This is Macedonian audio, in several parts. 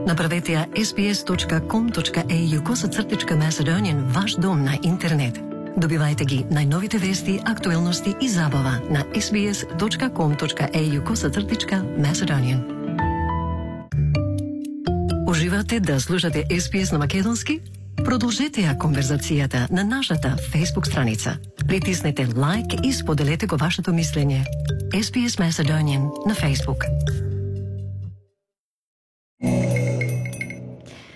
Направете ја sbs.com.au/Macedonian ваш дом на интернет. Добивајте ги најновите вести, актуелности и забава на sbs.com.au/Macedonian. Уживате да слушате SBS на македонски? Продолжете ја конверзацијата на нашата Facebook страница. Притиснете лайк и споделете го вашето мислење. SBS Macedonian на Facebook.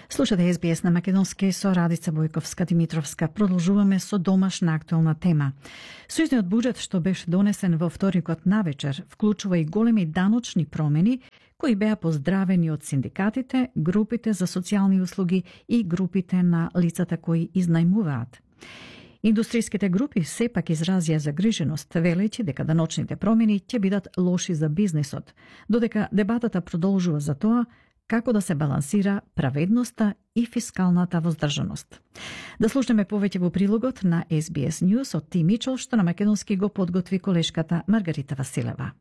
Слушате SBS на македонски со Радица Бојковска-Димитровска. Продолжуваме со домашна актуелна тема. Сојузниот буџет што беше донесен во вторникот навечер вклучува и големи даночни промени кои беа поздравени од синдикатите, групите за социјални услуги и групите на лицата кои изнајмуваат. Индустријските групи сепак изразија загриженост, велејќи дека даночните промени ќе бидат лоши за бизнисот, додека дебатата продолжува за тоа како да се балансира праведноста и фискалната воздржаност. Да слушнеме повеќе во прилогот на SBS News од Ти Мичел, што на македонски го подготви колешката Маргарита Василева.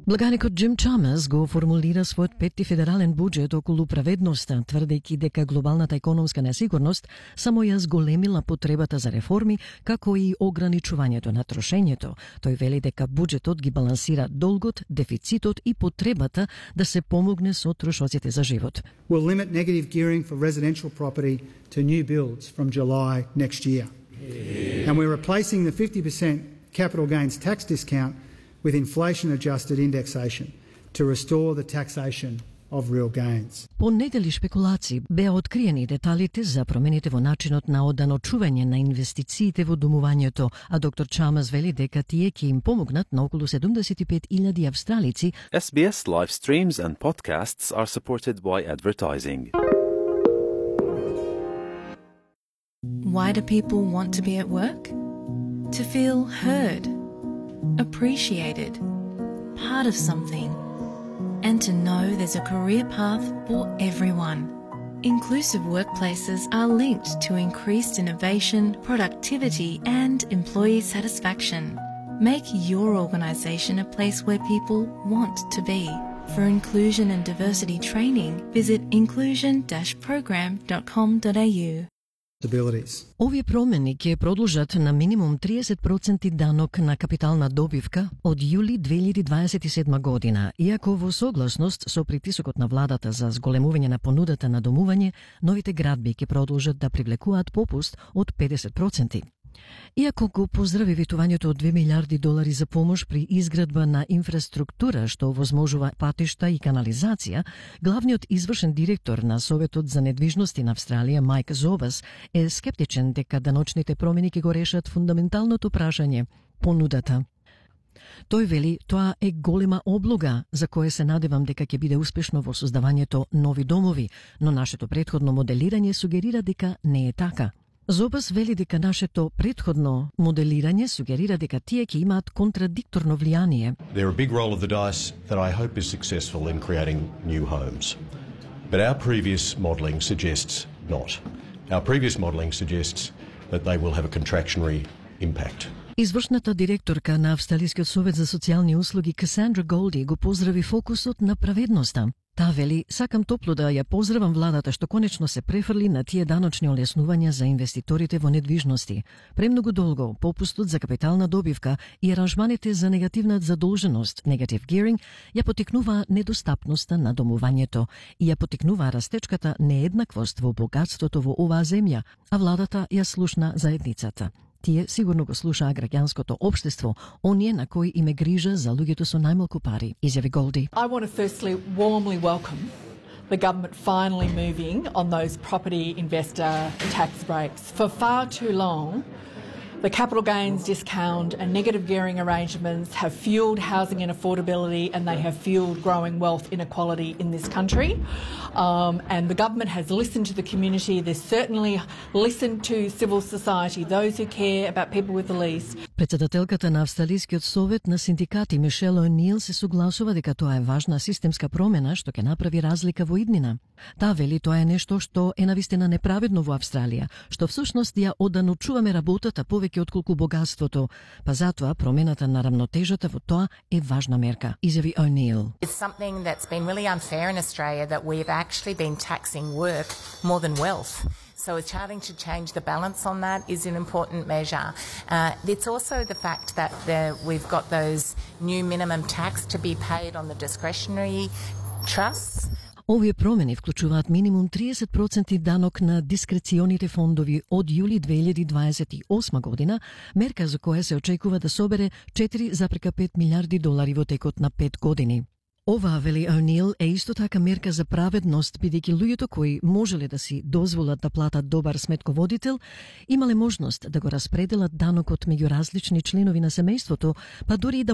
Благаникот Джим Чамес го формулира својот петти федерален буџет околу праведноста, тврдејќи дека глобалната економска несигурност само ја зголемила потребата за реформи, како и ограничувањето на трошењето. Тој вели дека буџетот ги балансира долгот, дефицитот и потребата да се помогне со трошоците за живот. We'll limit negative gearing for residential property to new builds from July next year. And we're replacing the 50% capital gains tax discount with inflation-adjusted indexation to restore the taxation of real gains. По недели шпекулации беа откриени деталите за промените во начинот на оданочување на инвестициите во домувањето, а доктор Чамес вели дека тие ќе им помогнат на околу 75,000 австралици. SBS live streams and podcasts are supported by advertising. Why do people want to be at work? To feel heard, appreciated, part of something, and to know there's a career path for everyone. Inclusive workplaces are linked to increased innovation, productivity, and employee satisfaction. Make your organisation a place where people want to be. For inclusion and diversity training, visit inclusion-program.com.au. Овие промени ќе продолжат на минимум 30% данок на капитална добивка од јули 2027 година, иако во согласност со притисокот на владата за зголемување на понудата на домување, новите градби ќе продолжат да привлекуваат попуст од 50%. Иако го поздрави ветувањето од $2 милиарди за помош при изградба на инфраструктура што овозможува патишта и канализација, главниот извршен директор на Советот за недвижности на Австралија Майк Зобас е скептичен дека даночните промени ќе го решат фундаменталното прашање – понудата. Тој вели тоа е голема облога за кое се надевам дека ќе биде успешно во создавањето нови домови, но нашето претходно моделирање сугерира дека не е така. Зобас вели дека нашето претходно моделирање сугерира дека тие ќе имаат контрадикторно влијание. They're a big roll of the dice that I hope is successful in creating new homes. But our previous modelling suggests not. Our previous modelling suggests that they will have a contractionary impact. Извршната директорка на Австралискиот совет за социјални услуги Касандра Голди го поздрави фокусот на праведноста. Таа вели, сакам топло да ја поздравам владата што конечно се префрли на тие даночни олеснувања за инвеститорите во недвижности. Премногу долго попустот за капитална добивка и аранжманите за негативна задолженост, negative gearing, ја потикнуваа недостапноста на домувањето и ја потикнуваа растечката нееднаквост во богатството во оваа земја, а владата ја слушна заедницата. Тие сигурно го слушаа граѓанското општество, оние на кои им е грижа за луѓето со најмалку пари, изјави Голди. I want to firstly warmly welcome the government finally moving on those property investor tax breaks. For far too long, the capital gains discount and negative gearing arrangements have fuelled housing inaffordability and they have fuelled growing wealth inequality in this country. And the government has listened to the community. They've certainly listened to civil society, those who care about people with the least. Председателката на Австралискиот совет на синдикати Мишел О'Нил се согласува дека тоа е важна системска промена што ќе направи разлика во иднина. Таа вели тоа е нешто што е навистина неправедно во Австралија, што всушност ја оданучуваме работата повеќе отколку богатството, па затоа промената на рамнотежата во тоа е важна мерка, изјави О'Нил. It's something that's been really unfair in Australia that we've actually been taxing work more than wealth. So starting to change the balance on that is an important measure. It's also the fact that we've got those new minimum tax to be paid on the discretionary trusts. Овие промени вклучуваат минимум 30% данок на дискреционите фондови од јули 2028 година, мерка за која се очекува да собере 4,5 милиарди долари во текот на 5 години. Ова, вели О'Нил, е исто така мерка за праведност, бидејќи луѓето кои можеле да си дозволат да платат добар сметководител, имале можност да го распределат данокот меѓу различни членови на семејството, па дури и да